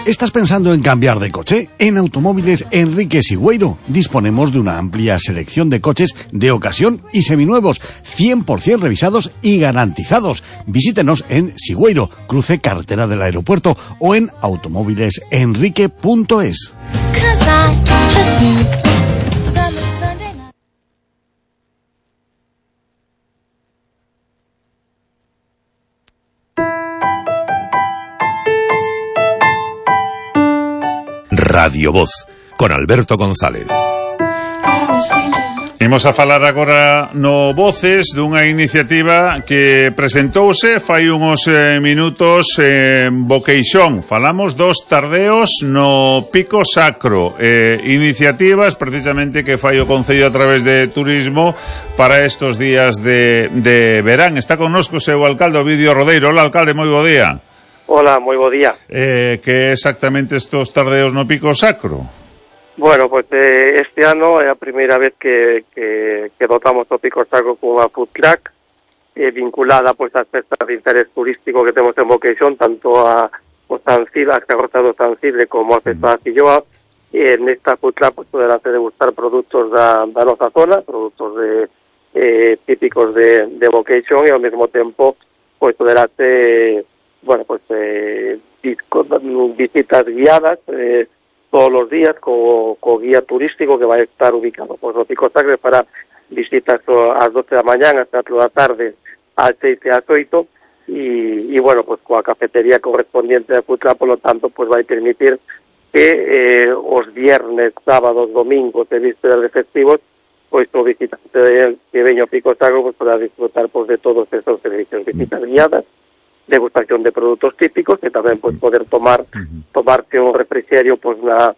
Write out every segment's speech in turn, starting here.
¿Estás pensando en cambiar de coche? En Automóviles Enrique Sigüeiro disponemos de una amplia selección de coches de ocasión y seminuevos, 100% revisados y garantizados. Visítenos en Sigüeiro, cruce carretera del aeropuerto, o en automóvilesenrique.es. Radio Voz, con Alberto González. Imos a falar agora no Voces dunha iniciativa que presentouse fai uns minutos en Boqueixón. Falamos dos tardeos no Pico Sacro, iniciativas precisamente que fai o Concello a través de Turismo para estos días de verán. Está connosco o seu alcalde, Ovidio Rodeiro. Hola, alcalde, moi bo día. Hola, moi bo día. Que exactamente estos tardeos no Pico Sacro? Bueno, pues este ano é a primeira vez que dotamos o Pico Sacro con unha food truck vinculada pues ás festas de interés turístico que temos en Boqueixón, tanto a Sancible, as carrozas do Sancible como a festa da Filloa. Nesta food truck pues poderase degustar produtos da nosa zona, produtos típicos de Boqueixón, e ao mesmo tempo pues poderase visitas guiadas todos los días co guía turístico que vai estar ubicado no Pico Sacro para visitas ás 12 da mañán hasta as 4 da tarde, ás 6 e ás 8, e bueno, pues coa cafetería correspondiente da Putra, por lo tanto, pues vai permitir que os viernes, sábados, domingos e vísperas de festivos, pues o visitante que veña ao Pico Sacro pues poda disfrutar pues de todos esos servicios, visitas guiadas, degustación de produtos típicos, e tamén pues poder tomarse un refrexerio pues na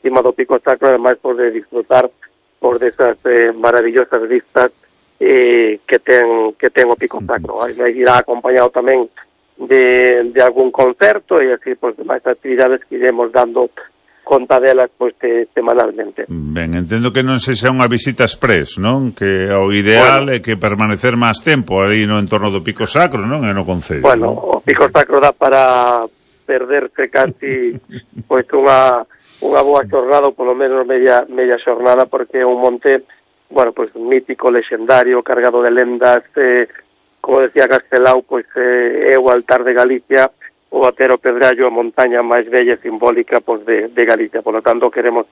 cima do Pico Sacro, ademais pues de disfrutar por desas maravillosas vistas que ten o Pico Sacro. Irá acompañado tamén de algún concerto, e así pues máis actividades que iremos dando conta delas pues semanalmente. Ben, entendo que non se xa unha visita express, non? Que o ideal é que permanecer máis tempo aí no entorno do Pico Sacro, non? E no concello. Bueno, o Pico Sacro dá para perderse casi pois unha boa xornada, ou polo menos media xornada, porque é un monte, bueno, pois mítico, lexendario, cargado de lendas, como decía Castelao, pois é o altar de Galicia, o Batero Pedrallo, a montaña máis bella e simbólica pois de Galicia. Por lo tanto, queremos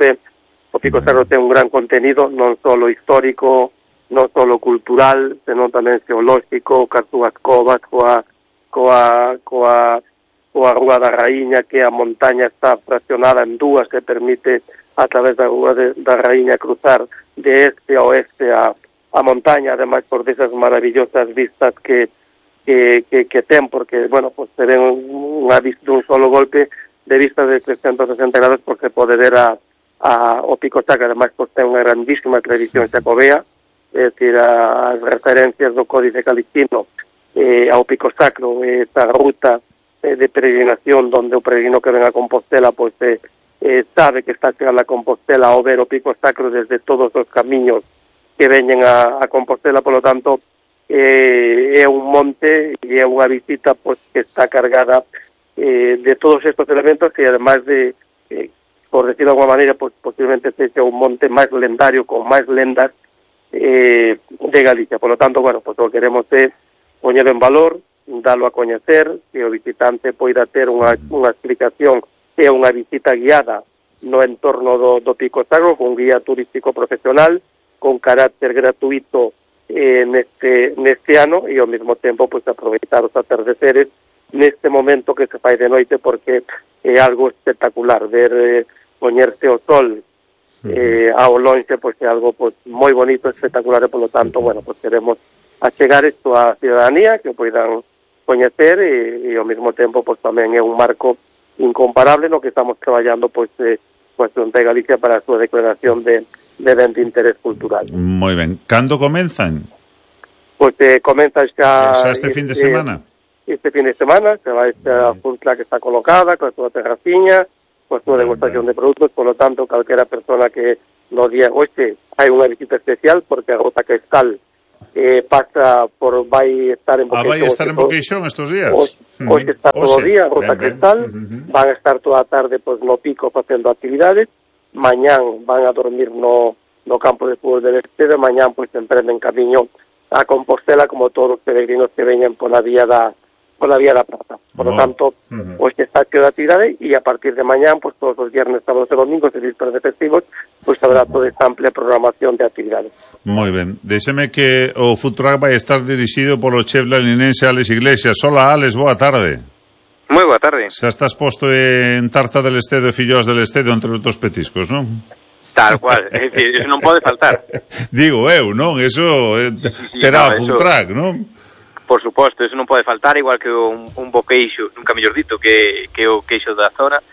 o Pico Sacro ten un gran contenido, non só histórico, non só cultural, senón tamén xeolóxico, coas súas covas, coa Rúa da Raíña, que a montaña está fraccionada en dúas, que permite a través da Rúa da Raíña cruzar de este a oeste a montaña, ademais por desas maravillosas vistas que ten, porque, bueno, pues se ven unha vista dun solo golpe de vistas de 360 grados, porque pode ver o Pico Sacro. Ademais, pues ten unha grandísima tradición xacobea, é dicir, as referencias do Códice Calixtino ao Pico Sacro, esta ruta de peregrinación donde o peregrino que ven a Compostela pues sabe que está chegando a Compostela ao ver o Pico Sacro desde todos os camiños que veñen a Compostela. Por lo tanto, é un monte e é unha visita pues que está cargada de todos estos elementos, e además de, por decirlo de alguna maneira, pues posiblemente sexa un monte máis lendario, con máis lendas de Galicia. Por lo tanto, bueno, pues o que queremos é poñer en valor, dalo a coñecer, que o visitante poida ter unha explicación e unha visita guiada no entorno do Pico Sacro, con guía turístico profesional, con carácter gratuito neste ano, e ao mesmo tempo pues aproveitar os atardeceres neste momento que se fai de noite, porque é algo espectacular ver poñerse o sol ao lonxe, pues é algo pues moi bonito, espectacular, e polo tanto, bueno, pues queremos achegar isto á ciudadanía, que poidan coñecer, e ao mesmo tempo pues tamén é un marco incomparable no que estamos traballando pues Xunta de Galicia para a súa declaración de ben de interés cultural. Moi ben. Cando comenzan? Pois comenzan xa este fin de semana. Este fin de semana se vai a funtla que está colocada, con a súa terraciña, con a súa degustación de produtos. Por lo tanto, calquera persona que no día hoxe hai unha visita especial, porque a Ruta Cristal vai estar en Boqueixón. Vai estar en Boqueixón estes días. Hoxe está todo o día, Ruta Cristal, van a estar toda a tarde pois, no Pico facendo actividades, mañán van a dormir no campo de fútbol del Estero, mañán pois emprenden camiño a Compostela como todos os peregrinos que veñen pola vía da Prata. Por lo tanto, pois está cheo de actividade e a partir de mañán, pois todos os viernes, sábados e domingos e vísperas de festivos, pois haberá toda esta amplia programación de actividades. Moi ben. Déxeme que o food truck vai estar dirixido polo chef lalinense Alex Iglesias. Hola, Alex, boa tarde. Moi boa tarde. Xa estás posto en tarta del Estedo e filloas del Estedo, entre outros petiscos, non? Tal cual, é dicir, eso non pode faltar. Digo eu, non? Eso terá food truck, non? Por suposto, eso non pode faltar, igual que un bo queixo, nunca mellor dito, que o queixo da zona.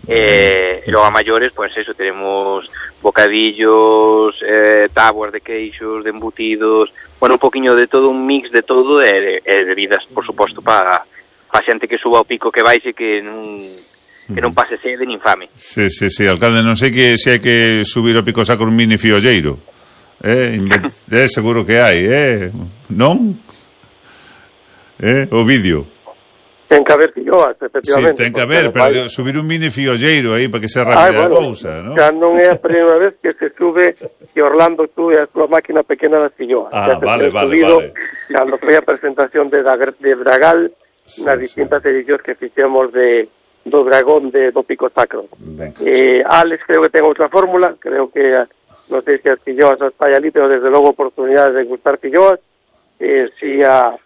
E logo a maiores, pois eso, teremos bocadillos, tábuas de queixos, de embutidos, bueno, un poquinho de todo, un mix de todo, e bebidas, por suposto, para xente que suba ao pico, que baixe, que non pase sede nin fame. Sí, alcalde, non sei que se hai que subir ao Pico Sacro un mini fiolleiro. Seguro que hai, non? O vídeo. Ten que haber filloas, efectivamente. Sí, ten que haber, pero subir un mini fiolleiro aí para que sea rápida a cousa, non? Xa non é a primeira vez que se sube, que Orlando sube a súa máquina pequena das filloas. Vale. Cando foi a presentación de Dragal, nas distintas edicións que fixemos do dragón do Pico Sacro. Alex creo que ten outra fórmula, creo que non sei se as filloas as falla ali, pero desde logo oportunidades de gustar filloas, si a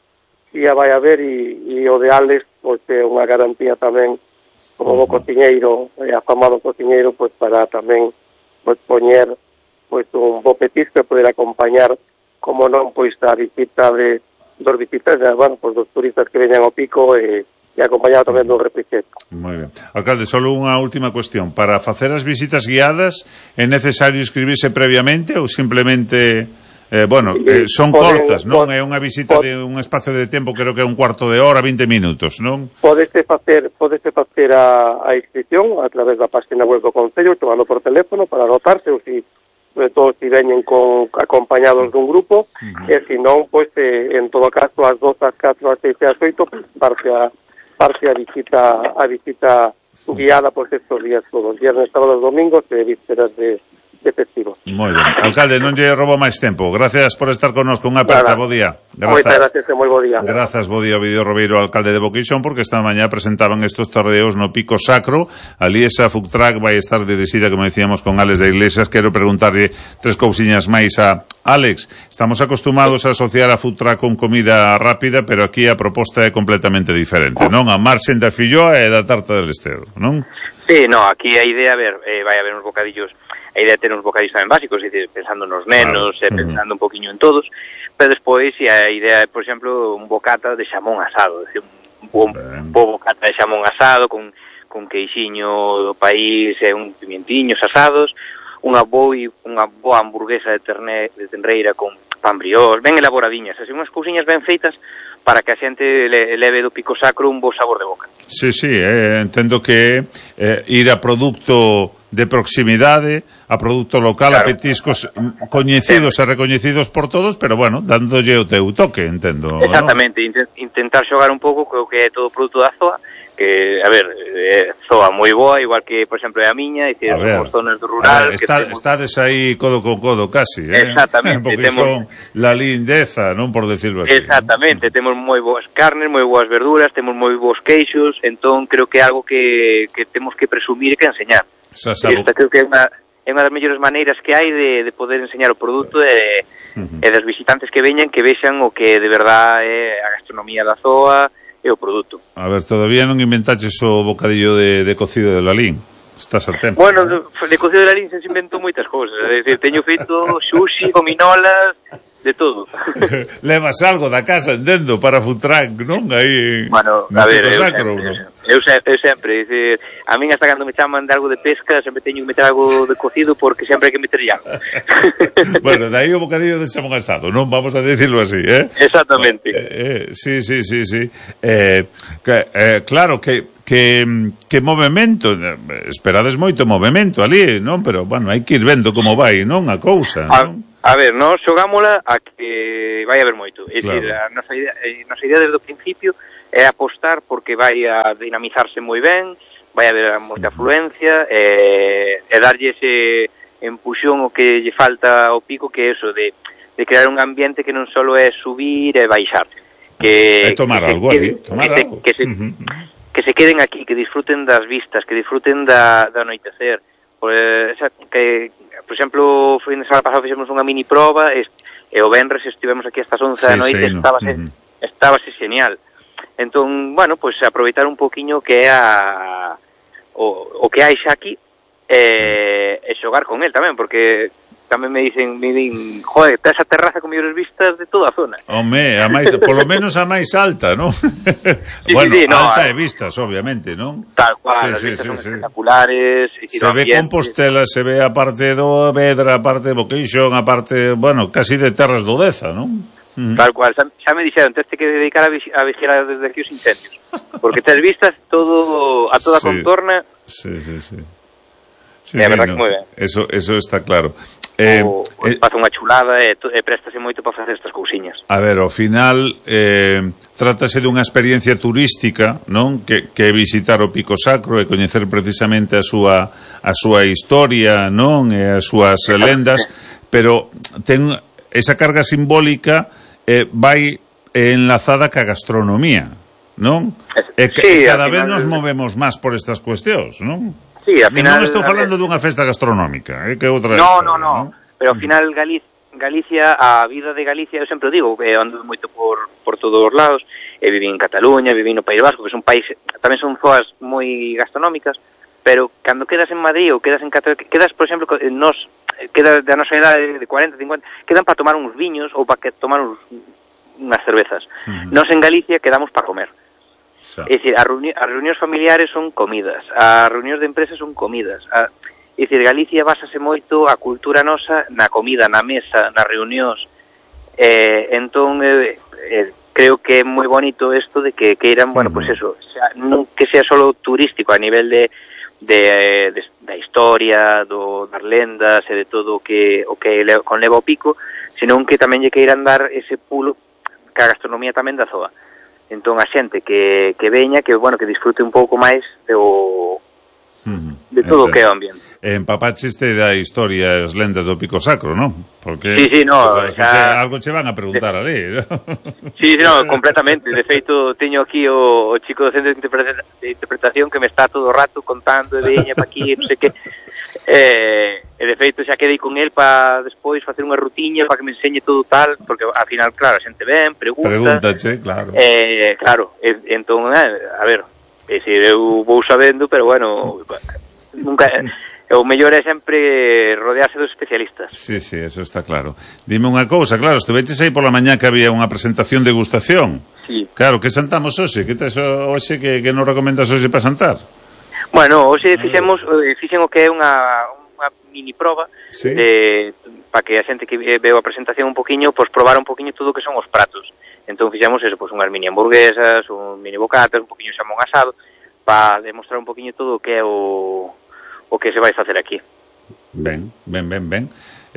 vai a ver e o de Alex pois é unha garantía tamén como bo cociñeiro, afamado cociñeiro, pois para tamén pois poñer pois un bo petisco e poder acompañar como non pois a visita dos visitantes, bueno, pois dos turistas que veñan ao Pico e acompañado tamén do repiquete. Moi ben. Alcalde, só unha última cuestión. Para facer as visitas guiadas é necesario inscribirse previamente ou simplemente... son cortas, non? É unha visita de un espacio de tempo, creo que é un cuarto de hora, 20 minutos, non? Podese facer a inscripción a través da página web do Concello, tomando por teléfono para anotarse, ou sobre todo si veñen acompañados dun grupo, e se non, pois, en todo caso, ás 2, ás 4, ás 6 e ás 8, parte a visita guiada, pois, estos días todos, viernes, sábados, domingos e vísperas de festivos. Moi ben. Alcalde, non lle roubo máis tempo. Gracias por estar connosco. Unha aperta, bo día. Moitas gracias e moi bo día. Grazas, bo día, Ovidio Robeiro, alcalde de Boqueixón, porque esta mañá presentaban estos tardeos no Pico Sacro. Ali esa food truck vai estar dirixida, como decíamos, con Alex de Iglesias. Quero preguntarlle 3 cousiñas máis a Alex. Estamos acostumados a asociar a food truck con comida rápida, pero aquí a proposta é completamente diferente, non? A marxen da filloa e da tarta del Estedo, non? Sí, no, aquí a idea, vai haber uns bocadillos. A idea é ter uns bocadillos tamén básicos, é dicir, pensando nos nenos, pensando un poquinho en todos, pero despois a idea é, por exemplo, un bocata de xamón asado, é dicir, un bo bocata de xamón asado con queixiño do país e un pimientiños asados, unha boa hamburguesa de tenreira con pan brioche, ben elaboradiñas, así unhas cousiñas ben feitas para que a xente leve do Pico Sacro un bo sabor de boca. Sí, entendo que ir a produto de proximidade, a produto local, claro, a petiscos coñecidos e recoñecidos por todos, pero bueno, dándolle o teu toque, entendo. Exactamente, ¿no? Intentar xogar un pouco co que é todo o produto da zoa, que, a ver, zoa moi boa, igual que, por exemplo, é a miña, e temos zonas do rural... Estades aí codo con codo, casi, Exactamente. Porque son la lindeza, non por decirlo así. Exactamente, temos moi boas carnes, moi boas verduras, temos moi bons queixos, entón creo que é algo que temos que presumir e que enseñar. Esta creo que é unha das mellores maneiras que hai de poder enseñar o produto e das visitantes que veñan que vexan o que de verdad é a gastronomía da zoa e o produto. A ver, todavía non inventaches o bocadillo de cocido de Lalín? Estás a tempo. Bueno, de cocido de Lalín se inventou moitas cousas, é dicir, teño feito sushi, gominolas, de todo. Levas algo da casa, entendo, para food truck, non? Aí, bueno, a ver, eu sempre, dicir, a min hasta cando me chaman de algo de pesca, sempre teño que meter algo de cocido porque sempre hai que meter algo. Bueno, dai o bocadillo de xamón asado, non? Vamos a decirlo así, Exactamente. Sí. Claro, que movimento, esperades moito movimento ali, non? Pero, bueno, hai que ir vendo como vai, non? A cousa, non? A ver, nós xogámola a que vai haber moito. É dicir, a nosa idea desde o principio é apostar porque vai a dinamizarse moi ben, vai haber moita afluencia, e darlle ese empuxón o que lle falta ao Pico, que é eso de crear un ambiente que non só é subir e baixar, que tomar algo ali, que se queden aquí, que disfruten das vistas, que disfruten do anoitecer. Por exemplo, o fin de semana pasado fixemos unha mini proba e o venres estivemos aquí hasta as 11 da noite, estábase genial. Entón, bueno, pues aproveitar un poquinho que é o que hai xa aquí e xogar con el tamén, porque tamén me din, joder, esa terraza con mellores vistas de toda a zona. Home, polo menos a máis alta, non? Bueno, alta de vistas, obviamente, non? Tal cual, as vistas son espectaculares. Se ve Compostela, se ve a parte do Vedra, a parte de Boqueixón, a parte, bueno, casi de Terras do Deza, non? Tal cual, xa me dixeron, tens que dedicar a vigilar desde aquí os incendios, porque tes vistas a toda a contorna. Sí. É a verdad que moi ben. Eso está claro. Pasa unha chulada e préstase moito para facer estas cousiñas. A ver, ao final trátase dunha experiencia turística, non? Que visitar o Pico Sacro e coñecer precisamente a súa historia, non? E as súas lendas, pero ten esa carga simbólica vai enlazada ca gastronomía, non? E cada vez nos movemos máis por estas cuestións, non? Sí, al final... Non estou falando dunha festa gastronómica, que outra... No. Pero ao final Galicia, a vida de Galicia, eu sempre digo, ando moito por todos os lados, viví en Cataluña, viví no País Vasco, que son países, tamén son zoas moi gastronómicas, pero cando quedas en Madrid ou quedas en Cataluña, quedas, por exemplo, quedas da nosa edade de 40, 50, quedan para tomar uns viños ou para tomar unhas cervezas. Nós en Galicia quedamos para comer. É dicir, as reunións familiares son comidas, as reunións de empresas son comidas. É dicir, Galicia básase moito a cultura nosa na comida, na mesa, nas reunións. Entón, creo que é moi bonito isto de que queiran, bueno, pues eso, non que sea solo turístico a nivel da historia, das lendas e de todo o que conleva o Pico, senón que tamén lle queiran dar ese pulo ca gastronomía tamén da zoa. Entón a xente que veña, que bueno, que disfrute un pouco máis de todo o que é o ambiente. Empapacheste da historia e as lendas do Pico Sacro, non? Porque sí, no, algo che van a preguntar ali, ¿no? Sí, no, completamente. De feito, teño aquí o chico do centro de interpretación que me está todo o rato contando de veña pa aquí, non sei que. E de feito xa quedei con el para despois facer unha rutiña para que me enseñe todo tal, porque ao final, claro, a xente ven, pregúntache, claro. Claro, entón, a ver, eu vou sabendo, pero bueno, nunca... O mellor é sempre rodearse dos especialistas. Sí, eso está claro. Dime unha cousa, claro, estuveches aí pola mañá que había unha presentación de degustación. Sí. Claro, que santamos hoxe? Que tes hoxe que nos recomendas hoxe para santar? Bueno, hoxe fixen o que é unha mini proba, ¿sí? Para que a xente que veo a presentación un poquinho, pues probar un poquinho todo o que son os pratos. Entón fixemos eso, pues unhas mini hamburguesas, un mini bocatas, un poquinho xamón asado, para demostrar un poquinho todo o que é o que se vai facer aquí. Ben.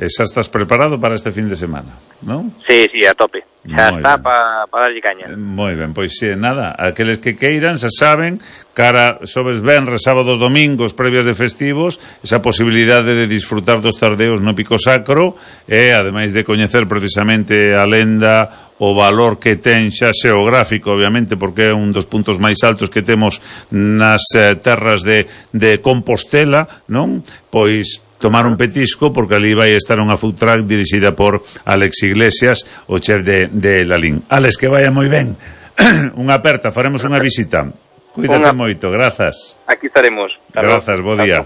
E xa estás preparado para este fin de semana, non? Sí, a tope. Xa está para darlle caña. Moi ben, pois nada, aqueles que queiran, xa saben, cara xoves, venres, sábados, domingos, previas de festivos, esa posibilidade de disfrutar dos tardeos no Pico Sacro e, ademais de coñecer precisamente a lenda, o valor que ten xa xeográfico, obviamente, porque é un dos puntos máis altos que temos nas terras de Compostela, non? Pois tomar un petisco, porque ali vai estar unha food truck dirixida por Alex Iglesias, o chef de Lalín. Alex, que vaya moi ben. Unha aperta, faremos unha visita. Cuídate moito, grazas. Aquí estaremos. Grazas, bo día.